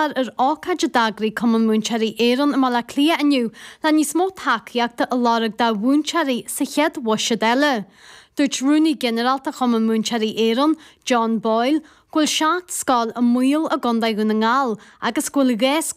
Galar ar ócáid a d'eagraigh Cumann Múinteoirí Éireann i mBaile Átha Cliath inniu le níos mó tacaíochta a lorg do mhúinteoirí sa chéad bhuiséad eile. Dúirt Rúnaí Ginearálta Chumann Múinteoirí Éireann, John Boyle, go bhfuil 7 scoil i mbaol i gContae Dhún na nGall agus go bhfuil 2 scoil.